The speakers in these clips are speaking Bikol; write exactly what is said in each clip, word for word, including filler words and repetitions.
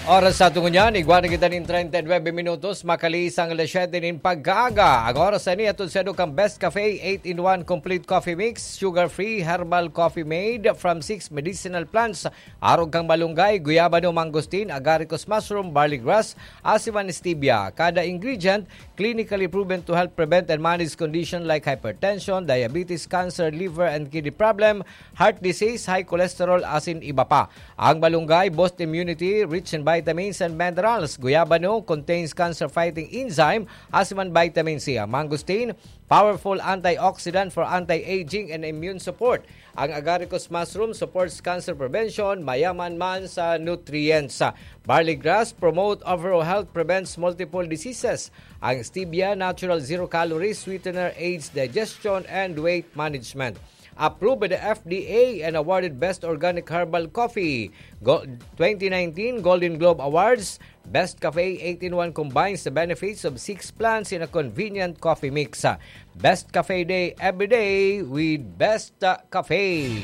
Oras sa tungo niyan, igwa na kita nin treinta y nueve minutos, makaliis ang alas siyete nin pagkaaga. Ang oras na ini, hatod saindo kan Best Cafe eight-in-one Complete Coffee Mix, sugar-free herbal coffee made from six medicinal plants, arog kan malunggay, guyabano, mangosteen, agaricus mushroom, barley grass, asin man stevia. Kada ingredient, clinically proven to help prevent and manage condition like hypertension, diabetes, cancer, liver and kidney problem, heart disease, high cholesterol, asin iba pa. Ang malunggay boost immunity, rich in vitamins and minerals. Guyabano contains cancer-fighting enzyme, asin man vitamin C. Ang mangosteen, powerful antioxidant for anti-aging and immune support. Ang agaricus mushroom supports cancer prevention, mayaman man sa nutrients. Barley grass promote overall health, prevents multiple diseases. Ang stevia, natural zero calories sweetener, aids digestion and weight management. Approved by the F D A and awarded Best Organic Herbal Coffee, Go-, twenty nineteen Golden Globe Awards. Best Cafe eight-in-one combines the benefits of six plants in a convenient coffee mix. Best Cafe Day every day with Best, uh, Cafe.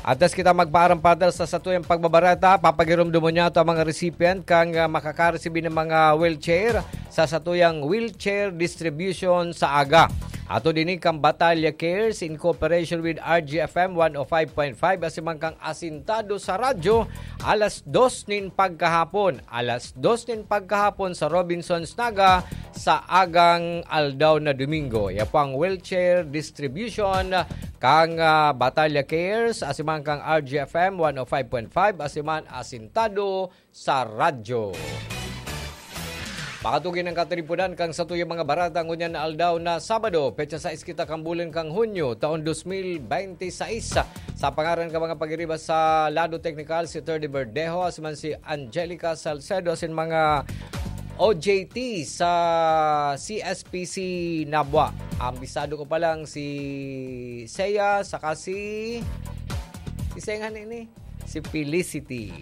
Antes kita magpaaram, Father, sa satuyang pagbabareta, papagiromdomon niya ito ang mga recipient kan, ah, makakaresibi ng mga wheelchair sa satuyang wheelchair distribution sa aga. Ato din kan Batalya Cares in cooperation with R G F M one oh five point five, asin man kan Asintado sa Radyo, alas dos nin pagkahapon. Alas dos nin pagkahapon sa Robinsons Naga sa agang aldaw na Domingo. Iya po ang wheelchair distribution kan, ah, Batalya Cares, asin man kan R G F M one oh five point five, asin man Asintado sa Radyo. Pakatugin ang katiriponan kan satuyang mga bareta ngunyan na aldaw na Sabado, petsa sais kita kan bulan kan Hunyo, taon dos mil bente sais. Sa pangaran kan mga pagiriba sa lado teknikal, si Thirdy Verdejo, asin man si Angelica Salcedo, asin mga O J T sa C S P C Nabua. Ambisado ko pa lang si Seiya, saka si, si Seiya nga ini, si Felicity.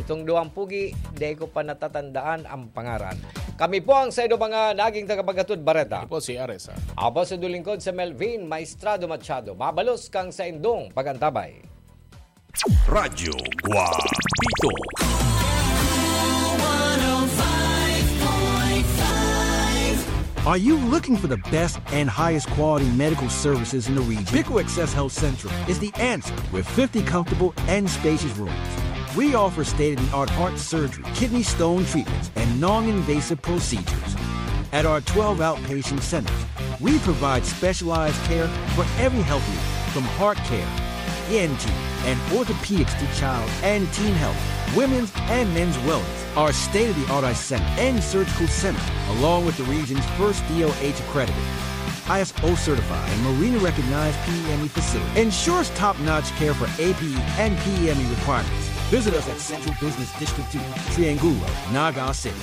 Itong duwang pugi, di ko pa natatandaan ang pangaran. Kami po ang saindo mga naging tagapaghatod bareta. Ako po si Ares, ah. Ako po si Dulingkod sa Melvin Maestrado Machado. Mabalos kang saindong pag-antabay. Radyo Guapito. Are you looking for the best and highest quality medical services in the region? Pico Access Health Central is the answer with fifty comfortable and spacious rooms. We offer state-of-the-art heart surgery, kidney stone treatments, and non-invasive procedures. At our twelve outpatient centers, we provide specialized care for every health need, from heart care, E N T, and orthopedics to child and teen health, women's and men's wellness. Our state-of-the-art eye center and surgical center, along with the region's first D O H accredited, I S O certified, and Marina recognized P E M E facility, ensures top-notch care for A P E and P E M E requirements. Visit us at Central Business District two, Triangulo, Naga City.